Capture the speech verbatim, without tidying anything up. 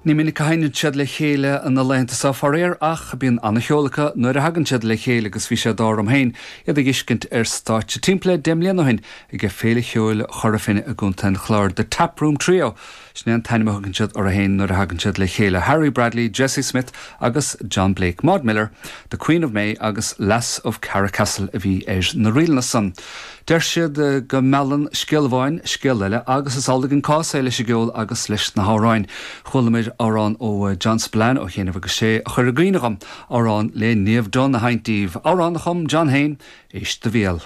Ní minic a sheinneann siad le chéile na laethanta seo faraor ach bíonn an-cheol acu nuair a thagann siad le chéile agus bhí sé d'ádh orm féin iad a fheiscint ar stáitse timpeall le deich mbliana ó shin ag Féile Cheoil Chora Finne i gContae an Chláir The Taproom Trio. Sin é an t-ainm a thugann siad orthu féin nuair a thagann siad le chéile Harry Bradley, Jesse Smith agus John Blake Maud Miller, The Queen of May agus Lass of Carracastle a bhí ar na ríleanna san. Deir siad go meallann scéal amháin scéal eile agus is amhlaidh an cás é leis an gceol agus leis na hamhráin. Chualamar amhrán ó John Spillane ó chianaibh agus sé a chuir i gcuimhne dhom amhrán le Niamh Dunne a sheinnt daoibh, amhrán a chum John féin éist do bhéal.